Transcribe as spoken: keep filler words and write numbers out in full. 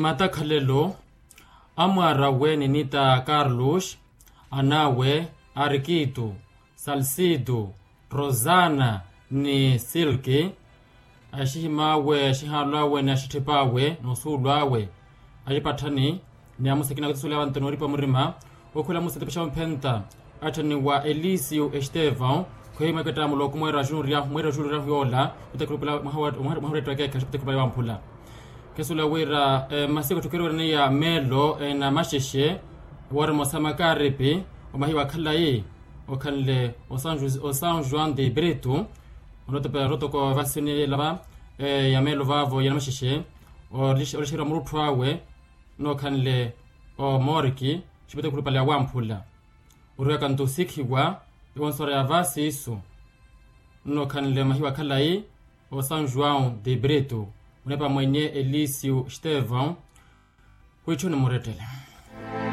Matakhalelo amwaar'awe ninita karlus, an'awe, arkitu, salsitu, rosana, ni silki. Axihim'awe axihaalu awe ni axitthip'awe n'usuulu awe, axipatthani ni amusakina akutisuleya vantu nooripa murima. Okhula musa tipaxa omphenta atthani wa elisiu estevão, khwehi mwakettamu looku mweera wa xuluryahu yoola. Mwaha weettu wa keekhaxa putekupa ya wamphula. Khesuwela wira masiku tthukeriwerineya meelo na maxexe, wooremoosa makaripi, omahiwa khalayi okhanle o são joão de brito. Onotopela rotoko vasi nilava ya meelo vaavo ya namaxexe, olixeriwa murutthu awe nookhanle omoriki, xipetekulu pale ya wamphula. Oriwaka nto osikhiwa ewonsora ya vasi isu, nnookhanle mahiwa khalayi o são joão de brito, onepa mwenye elisiu estevão. Khwiitthu nimurettele.